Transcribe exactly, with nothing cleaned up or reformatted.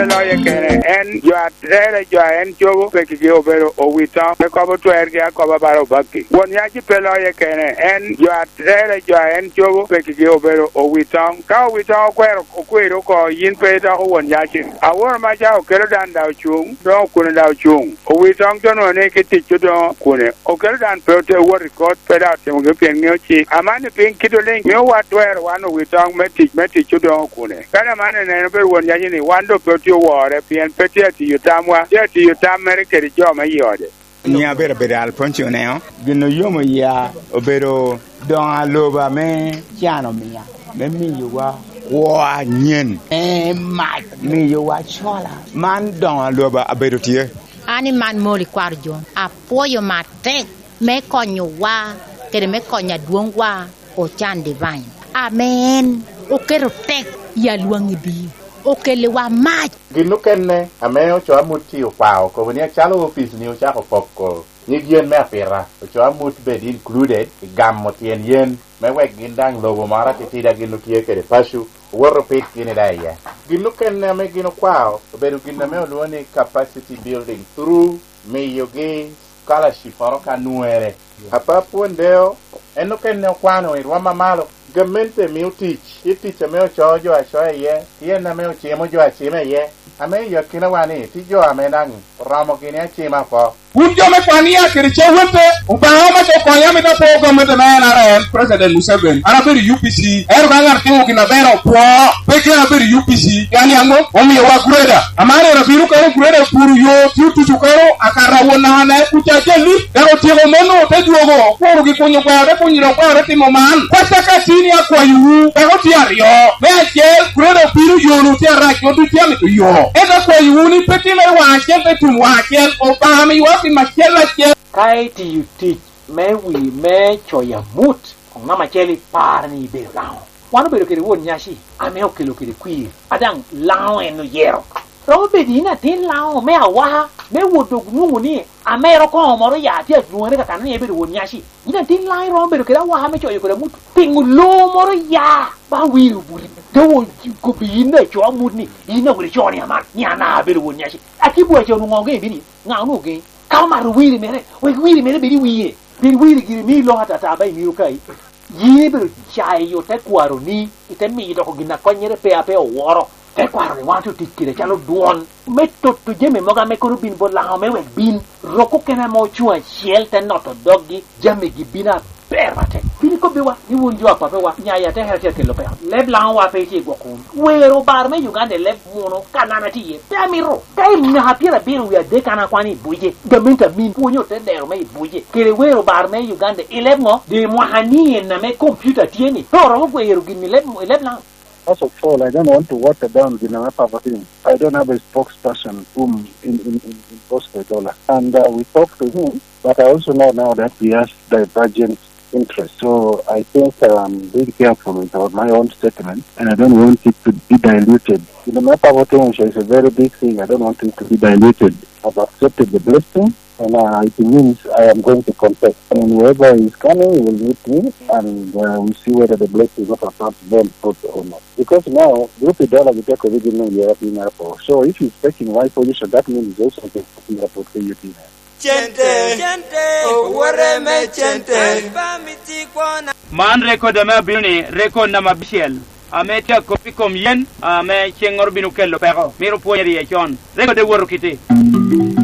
Pe loye kene, en jo a tere jo a en cobo pekigi obedo owitoŋ, me kobo twergi akoba bala obakki. Won yaci pe loye kene, en jo a tere jo a en cobo pekigi obedo owitoŋ. Ka owitoŋ okwero, okwero oko, yin pe idoko won yaci. Aworo maca okelo dan da ocuŋ, doŋ okune da ocuŋ. Owitoŋ to nwoŋo ni ki tic odoŋo kune. Okelo dan pe ote wot i kot, pe daŋ otimogi pien ŋeo cik. Amanni piny kit oliŋ mio wa twero wan owitoŋ me tic, me tic odoŋo kune. Kadi amanni neno pe won yaci ni wan doŋ pe otye owore pien pe tye atiyo tamwa, tye atiyo tam mere kede jo me i ode. Nyiŋa abedo, abedo Alfonso Oneo. Gin oyomo yia obedo doŋo aloba me can omia, me miyowa kwo anyen, me mac, miyowa cola. Man doŋo aloba abedo tye. An i man Moli kwaro Jon, apwoyo matek me konyowa kede me konyo adwoŋwa Ocan Divine, ame en oketo tek i alwaŋ i bii, okelliwa mac. Gin okene ame ocoo amut-ti okwao okobo ni acalo opic-ni ocako poko nyig yen me apita, ocoo amut bed included i gamo tyen yen, me wek gin daŋ lobo moro atitidi a gin otye kede paco, owoto opit gini daŋ iye. Gin okene ame gin okwao obedo gin ame olwoŋo ni capacity building through miyogi scholarship moro ka nwere. Apap Won Deo, en okene okwano i rwom amalo. Gamente mio tic, tye tic ame ocoo jo acoa iye, tye en ame ocimo jo acima iye, ame i akinawa-ni tye jo ame daŋ oromo gini acima oko. Wun jo me Kwania kede Cawete, Obaŋa omito okonya, amito apwo gamente me N R M, President Museveni. An abedo i U P C, ento ka ŋat timo gin aber opwo, pe kite abedo i U P C. Yal yaŋ mom omiowa greda. Amaro en abino kano greda puro yo, tye otuco kano akato awon naka ne kuca jali. Dok otyeko mano, te dwogo, okuro gi kunyo gweno, te kunyo dok gweno, te timo man. Kwacca ka tini akwayowu, dok otye aryo. Me acel, greda obino, yo-nu tye arac, jo ducu tye amito yo. Ento akwayowu ni pe timme i waŋ acel, te tum waŋ acel, Obaŋa miyowa tim acel acel. Ka itiyo tic me wi me coyo amut, koŋ namba acel ipar ni ibedo Laŋo. Wan obedo kede Won Nyaci ame okelo kede kwir, a daŋ Laŋo en oyero. Romo bedo yin atin Laŋo me awaka, me wot dok nwoŋo ni amero koŋo moro ya tye adwoŋere kakano ni ibedo Won Nyaci. Yin atin Laŋo iromo bedo kede awaka me coyo kede amut. Piŋo loo moro ya ba wiro buti? Doŋ okobbi yin acoo amut ni, yin awot icoo ni aman, ni an abedo Won Nyaci. Akibwa ca onwoŋo ŋo geŋ i bini? Ŋa onwoŋo geŋi? Ka omato wiri mere, wek wiri mere bed i wie. Pien wiri giri mio lok atata ba imiro kai. Yin ibedo cayo tekwaroni, ite miyo doko gin a konnyere pe a pe oworo. Tekwaroni wan otye otic kede acalo dwon me toto jami mogo ame kono bin bot Laŋo me wek bin rok okene ame ocuŋ acel te noto doggi, jamigi bino aber atek. Bin ikobbiwa ni wun jo a papewa, nya i atekere tye akelo peko. Leb Laŋowa pe itye i gwoko wunu. Wero obar me Uganda i leb muno ka an atye iye, pe amito. Ka i mwaka pyerabiro wie adek an akwano i buce, gamente amin pwonyo te dero me i buce, kede wero obar me Uganda i leb ŋo? Di mwaka ni en ame kompiuta tye ni, pe oromo gwero gin i leb, i leb Laŋo. First of all, I don't want to water down gin ame Papa timo. I don't have a spokesperson whom in, in, in, in Bosco Idola. And uh, we talked to him, but I also know now that he has divergent interests. So I think I'm being careful with our, my own statement, and I don't want it to be diluted. You know, my Papa Tongosha is a very big thing. I don't want it to be diluted. I've accepted the blessing, and uh, it means I am going to confess. And whoever is coming will meet me, and uh, we see whether the blessing of our past born fruit or not. Because now, group Idola will take original European apple. So if he's taking my position, that means he's also taking apple for you. Cente, cente, owote me cente. Man rekod ame abino ni rekod namba abicel, ame tye akop i kom yen ame ceŋŋoro bino kelo peko. Myero opwonyere iye con. Rekod ewoto kite.